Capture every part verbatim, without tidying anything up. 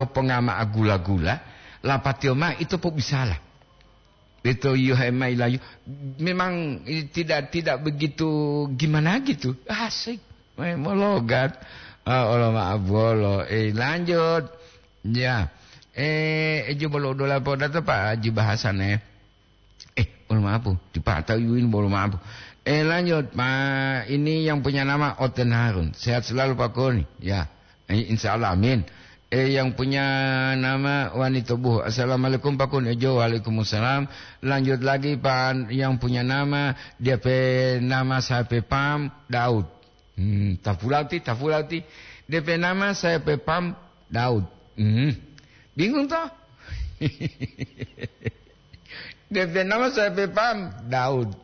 pongama agula-gula, lapatiyo mao ito pobisala. Ito yiyohe mayi layu, memang, eh, tidak, tidak begitu gimana gitu. Asik. Mayi mologat. Ah, olo ma'abuwolo. Eh, lanjut. Ya. Eh, eju bolo udola podato Pak Haji Bahasan, eh. Eh, mohon maaf, Bu. Dipatau iwin, mohon maaf, Bu. Eh, lanjut, Pak. Ini yang punya nama Oten Harun. Sehat selalu, Pak Koni. Ya. Eh, insya Allah, amin. Eh, yang punya nama Wanita Buhu. Assalamualaikum, Pak Koni. Jo, waalaikumsalam. Lanjut lagi, Pak, yang punya nama, dia pe nama saya pe pam, Daud. Hmm, tapulauti, tapulauti. Dia pe nama saya pe pam, Daud. Hmm. Bingung, toh? Depe nama sahepe pam, Daud.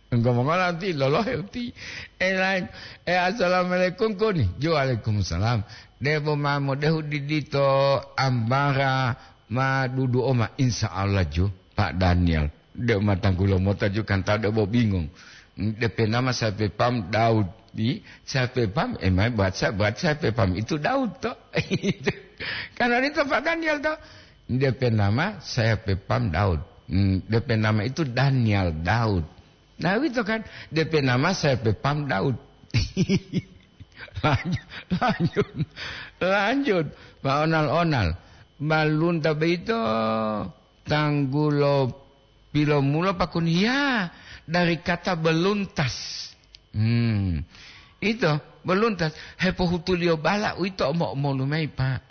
Engko mongola uti, lolohe uti. Eh, lain. Eh, assalamualaikum, Koni. Jo, waalaikumsalam. Debo ma modehu didito ambara ma dudu oma, insya Allah, jo, Pak Daniel. De ma tanggulo mota, jo, kan ta debo bingung. Depe nama sahepe pam, Daud. Di, sahepe pam, eh, mai buat sa-, buat sahepe pam itu Daud, toh. Karena itu Pak Daniel, toh. Depe nama sahepe pam Daud. Hmm, depe nama itu Daniel Daud. Nah, itu kan, depe nama sahepe pam Daud. Lanjut, lanjut, lanjut. Pak Onal-onal. Balunta beito tanggulo pilomulo pakun, ya, dari kata beluntas. Hmm. Ito, beluntas. Hepohutuliyo bala uwito omo-omolu mayi, Pak.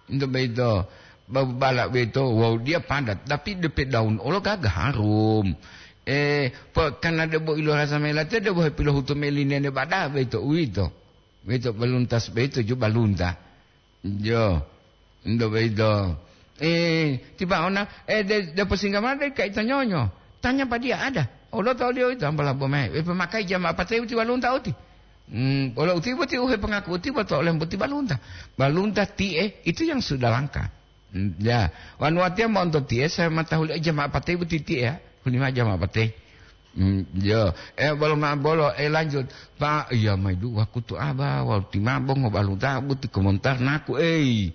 Ito boyito, ba-, bala boyito, wawu dia padat, tapi depe daun olo gaga harum. Eh, po-, karena debo ilorasa mayi latiya, debo hepilohutu mayi li nene bada boyito, uwito. Boyito baluntas boyito ju balunta. Jo, ento boyito. Eh, tiba ona, eh, de, de posingga mao de kaita nyonyo. Tanya pa dia ada. Olo toliyo ito ambala bomae. Eh, pemakai jama apate uti balunta uti. Hmm, olo uti boti uhe pengaku uti boto olem boti balunta. Balunta tie, itu yang sudah langka. Hmm, ya. Wanu watiya mo'onto tie, saya matahuli jama apate boti tie, ya. Hulima jama apate. Hmm, yo. Eh, bolo ma-, bolo, eh, lanjut. Pak, iya, mai du wakutu aba, walu timabo ngobalu tabu ti komentar naku, ei.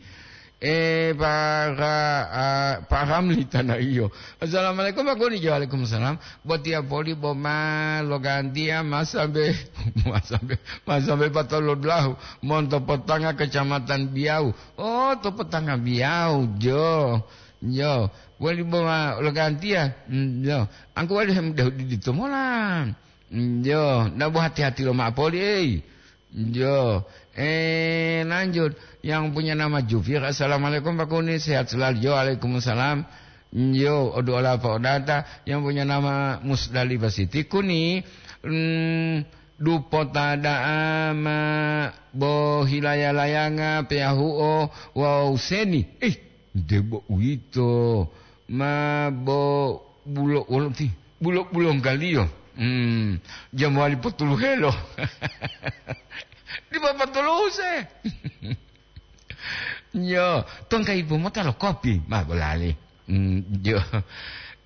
Eh, para, ah, Pak Ramli Tanah Iyo. Assalamualaikum, Pak Goni. Waalaikumsalam. Botiya poli boma logantiya masambe, masambe, masambe patolo dulahu. Monto Potanga, Kecamatan Biau. Oh, to Potanga Biau, jo. Jo. Wali boma logantiya. Hmm, jo. Angku wali hem dahu didi tomola. Njo, nda bo hati-hati lomao poli, ei. Njo, eh, lanjut. Yang punya nama Jufir, "Assalamualaikum, Pak Kuni, sehat selalu?" Jo, "Waalaikumsalam." Njo, odu ola Pak Odata. Yang punya nama Musdalifah Siti Kuni, mm, dupo ta da'a ma bo hilaya-layanga peyahuo wawu seni. Ih, debo uwito. Ma bo bulo-, wolo ti, bulo-, bulonggaliyo. Hmm, jamowali potuluhelo. Dipo potuluhu se. Yo, tongka ibu mota lo kopi, ma bolali. Hmm, yo.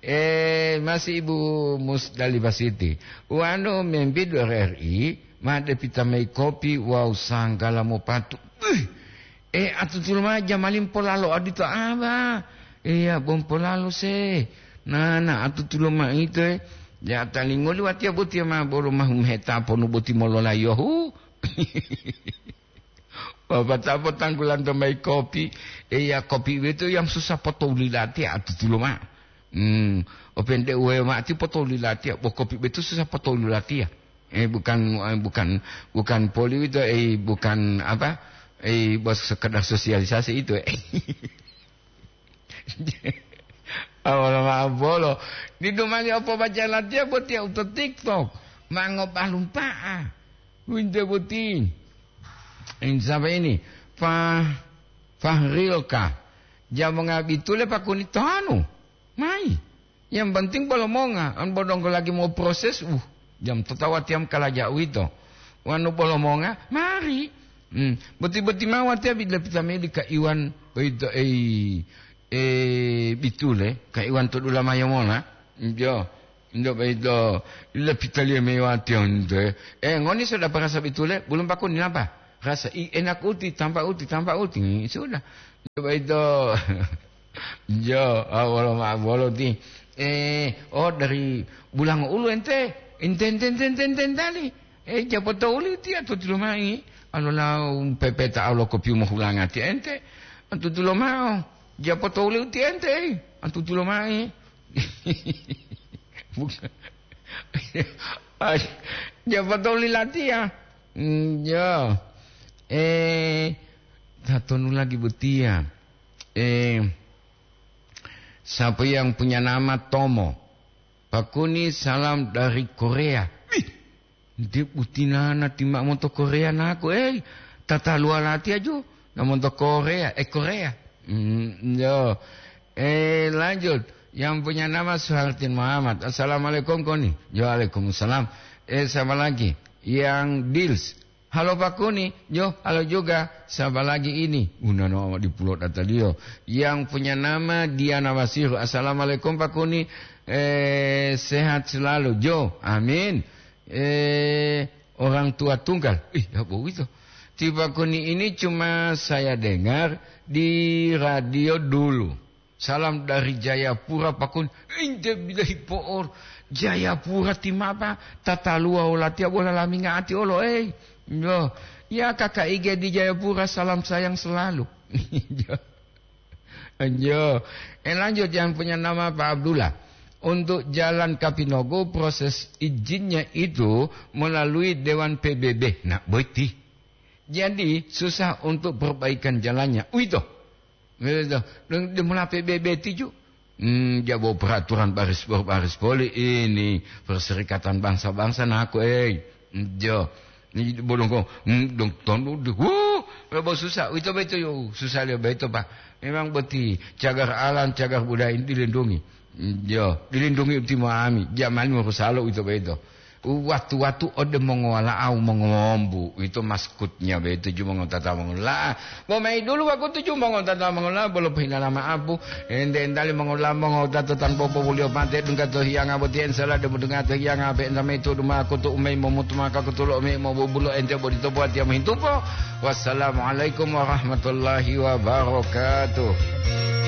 Eh, masih Ibu Musdalifah Siti. Wanu membidu R R I, ma depita mayi kopi wawu sanggala mopatu. Beuh! Eh, atutulo mao jamali mpolalo odito aba. Iya, bo mpolalo se. Nana, atutulo mao ito, eh. Ya, talingoli watiya botiya ma bolo mahu meheta ponu boti mololayohu. Bapak tapo tanggulanto mayi kopi. Iya, kopi itu yang susah potoli latiya, atutulo mao. Hmm, opente uwe mati potoli latiya, bo kopi betu susah potoli latiya. Eh, bukan, eh, bukan, bukan poli itu, eh, bukan apa, eh, bos sekedar sosialisasi itu, eh. Awal maaf bolo. Di dumani opo baca latiya botiya uto TikTok. Mango balumpa'a. Winte boti. Ini siapa ini? Fah-, Fahrilka. Jamonga bitule pakuni tanu. Mai. Yang penting bolo monga, an bodonggo lagi mau proses, uh, jam totawa tiam kalaja uwito. Wanu bolo monga, mari. Hmm, boti-boti mawatiya bila pitamili ka Iwan, boyito, ei, eh, bitule, ka Iwan to dula mayo mona. Jo, jo boyito, bila pitaliya mewatiya onto, eh. Eh, ngoni sudah parasa bitule, belum pakuni napa? Rasa, i, enak uti, tampa uti, tampa uti. Hmm, sudah. Boyito. Jo, ah, wolo ma'o bolo ti. Eh, oh, dari Bulango Ulu ente? Ente, ente, ente, ente, ente, entali. Eh, japoto uli ti atutulo mai. Alola pepeta alo kopiu mohulanga ti ente. Atutulo mao. Japoto uli ti ente, eh. Atutulo mai. Bukan. Ay, japoto uli latiya. Hmm, ya. Eh, tatonu lagi botiya. Eh, siapa yang punya nama Tomo? Pakuni salam dari Korea. Ih, nde butinana ti ma'o monto Korea naku, eh, tataluwa latiya ju, na monto Korea, eh, Korea. Hmm, yo. Eh, lanjut. Yang punya nama Suhartin Muhammad. Assalamualaikum, Koni. Yo, waalaikumsalam. Eh, siapa lagi? Yang Dils. Halo Pak Kuni, yo, halo juga. Siapa lagi ini? Unano di pulau dataliyo. Yang punya nama Diana Wasiru. Assalamualaikum Pak Kuni. Eh, sehat selalu. Jo, amin. Eh, orang tua tunggal. Ih, ya bohong itu. Ti Pak Kuni ini cuma saya dengar di radio dulu. Salam dari Jayapura, Pak Kuni. Inte bilahi po'or. Jayapura ti mapa? Tataluwa olatiya bola laminga ati olo, eh. Yo. Ya, Kakak Ige di Jayapura, salam sayang selalu. Yo. Yo. Eh, lanjut, yang punya nama Pak Abdullah. Untuk jalan Kapinogo, proses izinnya itu melalui Dewan P B B. Nah, boiti. Jadi, susah untuk perbaikan jalannya. Uwito. Uwito. Deng, demola P B B tiju. Hmm, jabo peraturan baris, baris poli ini. Perserikatan Bangsa-Bangsa naku, eh. Jo. Ni bodongko, hmm, dong tonu di. Wuh, lebo susah. Uwito beto yo. Susah liyo beto, Pak. Memang boti cagar alam, cagar budaya ini dilindungi. Hmm, jo. Dilindungi utimo ami. Jamani morusalo uwito beto. Watu-watu ode mongowala'au mongowombu, uwito maskutnya boyito ju mongotata mongola'a. Bo mayi dulu wakutu ju mongotata mongola'a bolo pohilala ma'apu, ente-entali mongola'a mongotata tanpa popoliyo pate dungga to hiyanga boti ensala debo dungga to hiyanga ape enta mayi tudu ma'akutu umayi momutu maka kutulo umayi mobubulo ente bodito buwatiya mohintupo. Wassalamualaikum warahmatullahi wabarakatuh.